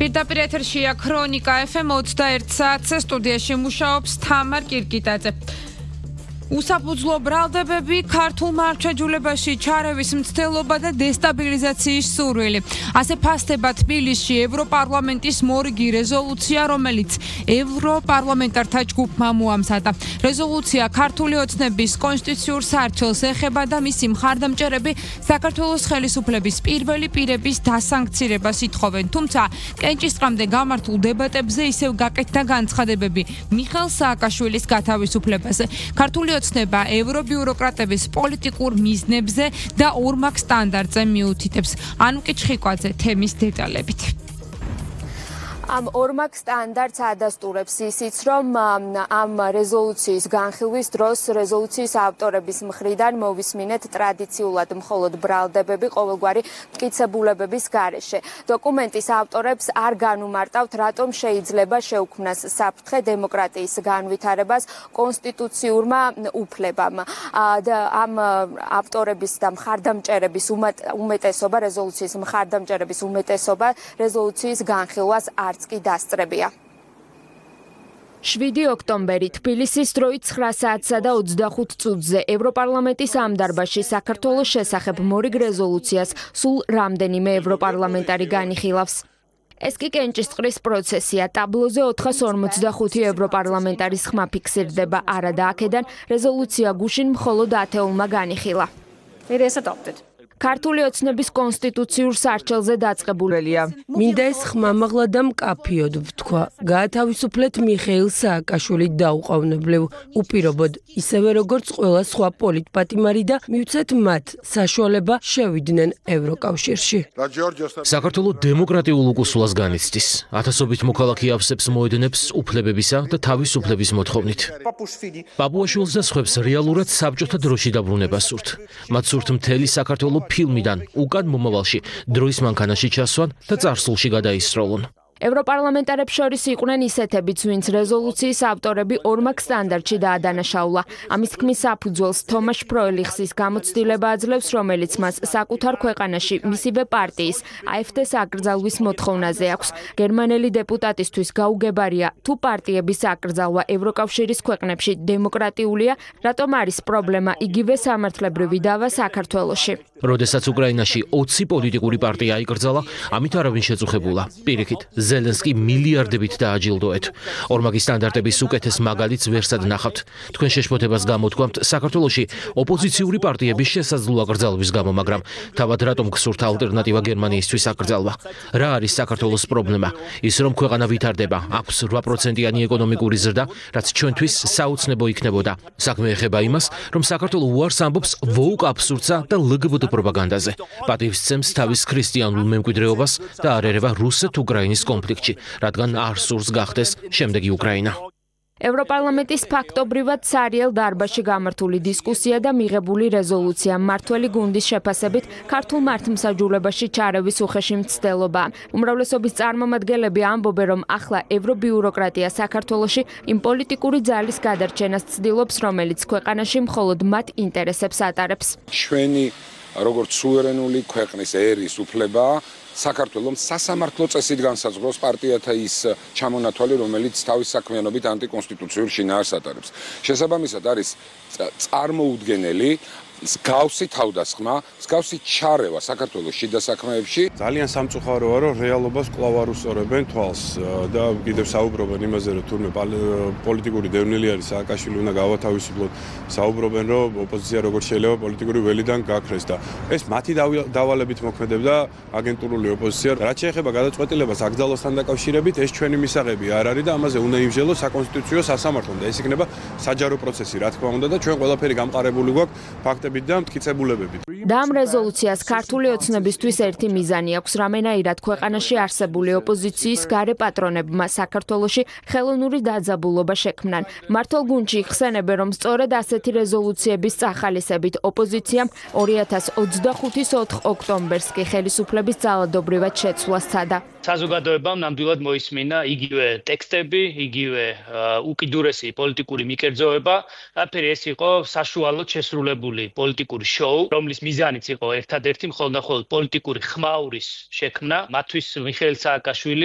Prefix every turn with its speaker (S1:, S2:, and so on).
S1: პირდაპირ ეთერშია ქრონიკა FM 21 საათზე სტუდიაში მუშაობს თამარ კირკიტაძე. უსაფუძვლო ბრალდებები, ქართულ მართლმსაჯულებაში ჩარევის მცდელობა და დესტაბილიზაციის სურვილი. ასე ფასდება თბილისში ევროპარლამენტის მორიგი რეზოლუცია, რომელიც ევროპარლამენტართა ჯგუფმა მოამზადა. რეზოლუცია ქართული ოცნების კონსტიტუციურ სარჩელს ეხება და მისი მხარდამჭერები საქართველოს ხელისუფლების პირველი პირების დასანქცირებას ითხოვენ. თუმცა კენჭისყრამდე გამართულ დებატებზე ისევ გაკეთდა განცხადებები მიხეილ სააკაშვილის გათავისუფლებაზე. ქართული ოცნება ევრობიუროკრატების პოლიტიკურ მიზნებზე და ორმაგ სტანდარტზე მიუთითებს. ანუკი ჩხიკვაძე თემის დეტალებით.
S2: Am ორმაგ სტანდარტს ადასტურებს ისიც, რომ ამ რეზოლუციის განხილვის დროს რეზოლუციის ავტორების მხრიდან მოვისმინეთ ტრადიციულად მხოლოდ ბრალდებები ყოველგვარი მტკიცებულებების გარეშე. დოკუმენტის ავტორებს არ განუმარტავთ, რატომ შეიძლება შეუქმნას საფრთხე დემოკრატიის განვითარებას კონსტიტუციურმა უფლებამ. ამ ავტორების და მხარდამჭერების უმეტესობა, რეზოლუციის მხარდამჭერების უმეტესობა რეზოლუციის განხილვას არც კი დასწრებია. 7 ოქტომბერი თბილისის დროით 9 საათსა და 25 წუთზე ევროპარლამენტის ამ დარბაზში საქართველოს შესახებ მორიგ რეზოლუციას სულ რამდენიმე ევროპარლამენტარი განიხილავს. ეს კი კენჭისყრის პროცესია. ტაბლოზე 445 ევროპარლამენტარის ხმა ფიქსირდება, არა და აქედან რეზოლუცია გუშინ მხოლოდ 10-მა განიხილა.
S3: It is adopted.
S2: ქართული ოცნების კონსტიტუციურ სარჩელზე დაწყებულია.
S4: მინდა ეს ხმამაღლა და მკაფიოდ ვთქვა. გაათავისუფლეთ მიხეილ სააკაშვილი დაუყოვნებლივ, უპირობოდ, ისევე როგორც ყველა სხვა პოლიტპატიმარი და მივცეთ მათ საშუალება შევიდნენ ევროკავშირში.
S5: საქართველოს დემოკრატიულ უკუსულას განიცდის. ათასობით მოქალაქე ავსებს მოედნებს უფლებებისა და თავისუფლების მოთხოვნით. პაპუაშვილს და სხვებს რეალურად საბჭოთა დროში დაბრუნება სურთ. მათ სურთ მთელი საქართველოს ფილმიდან უკან მომავალში დროის მანქანაში ჩასვან და წარსულში გადაისროლონ.
S2: ევროპარლამენტარებს შორის იყვნენ ისეთებიც, ვინც რეზოლუციის ავტორები ორმაგ სტანდარტში დაადანაშაულა. ამის თქმის საფუძველს თომაშ ფროელიხსის გამოცდილება აძლევს, რომელიც მას საკუთარ ქვეყანაში მისივე პარტიის AfD-ს აკრძალვის მოთხოვნაზე აქვს. გერმანელი დეპუტატისთვის გაუგებარია, თუ პარტიების აკრძალვა ევროკავშირის ქვეყნებში დემოკრატიულია, რატომ არის პრობლემა იგივე სამართლებრივი დავა საქართველოში.
S5: როდესაც უკრაინაში 20 პოლიტიკური პარტია აიკრძალა, ამით არავინ შეწუხებულა. პირიქით, ზელენსკი მილიარდებით დააჯილდოეთ. ორმაგი სტანდარტების უკეთეს მაგალითს ვერსად ნახავთ. თქვენ შეშფოთებას გამოთქვამთ საქართველოში ოპოზიციური პარტიების შესაძლო აკრძალვის გამო, მაგრამ თავად რატომ გსურთ ალტერნატივა გერმანიისთვის აკრძალვა? რა არის საქართველოს პრობლემა? ის რომ ქვეყანა ვითარდება, აქვს 8%-იანი ეკონომიკური ზრდა, რაც ჩვენთვის საოცნებო იქნებოდა. საქმე ეხება იმას, რომ საქართველო უარს ამბობს ვოუკ აბსურდსა და ლგბტ პროპაგანდაზე. პატივს სცემს თავის ქრისტიანულ მემკვიდრეობას და არ ერევა რუსეთ-უკრაინის კონფლიქტში, რადგან არ სურს გახდეს შემდეგი უკრაინა.
S2: ევროპარლამენტის ფაქტობრივად ცარიელ დარბაზში გამართული დისკუსია და მიღებული რეზოლუცია მმართველი გუნდის შეფასებით ქართულ მართლმსაჯულებაში ჩარევის უხეში მცდელობაა. უმრავლესობის წარმომადგენლები ამბობენ, რომ ახლა ევრობიუროკრატია საქართველოში იმ პოლიტიკური ძალის გადარჩენას ცდილობს, რომელიც ქვეყანაში მხოლოდ მათ ინტერესებს ატარებს.
S6: ჩვენი როგორც სუვერენული ქვეყნის ერის უფლება საქართველოს სასამართლო წესით განსაზღვროს პარტიათა ის ჩამონათვალი, რომელიც თავის საქმიანობით ანტიკონსტიტუციურ შინაარს ატარებს. შესაბამისად არის წარმოუდგენელი მსგავსი თავდასხმა, მსგავსი ჩარევა საქართველოს შიდა საქმეებში.
S7: ძალიან სამწუხაროა, რომ რეალობას კვლავ არ უსწორებენ თვალს და კიდევ საუბრობენ იმაზე, რომ თურმე პოლიტიკური დევნილი არის სააკაშვილი უნდა გავათავისუფლოთ. საუბრობენ, რომ ოპოზიცია როგორც შეიძლება პოლიტიკური ველიდან გაქრეს და ეს მათი დავალებით მოქმედებდა აგენტურული ოპოზიცია. რაც შეეხება გადაწყვეტილებას აკრძალვასთან დაკავშირებით, ეს ჩვენი მისაღები არ არის და ამაზე უნდა იმსჯელოს საკონსტიტუციო სასამართლომ და ეს იქნება საჯარო პროცესი, რა თქმა უნდა და ჩვენ ყველაფერი გამყარებული გვაქვს და მტკიცებულებებით.
S2: და ამ რეზოლუციას ქართული ოცნებისთვის ერთი მიზანი აქვს, რამენაირად ქვეყანაში არსებული ოპოზიციის გარე პატრონებმა საქართველოში ხელოვნური დაძაბულობა შექმნან. მართლ გუნდში იხსენებენ, რომ სწორედ ასეთი რეზოლუციების წახალისებით ოპოზიციამ 2025-ის 4 ოქტომბერს კი ხელისუფლების ძალადობრივად შეცვლა სცადა.
S8: საზოგადოებამ ნამდვილად მოისმინა იგივე ტექსტები, იგივე უკიდურესი პოლიტიკური მიკერძოება, რაფერი ეს იყო საშუალოდ შესრულებული პოლიტიკური შოუ, რომლის მიზანიც იყო ერთადერთი მხოლოდ პოლიტიკური ხმაურის შექმნა, მათთვის მიხეილ სააკაშვილი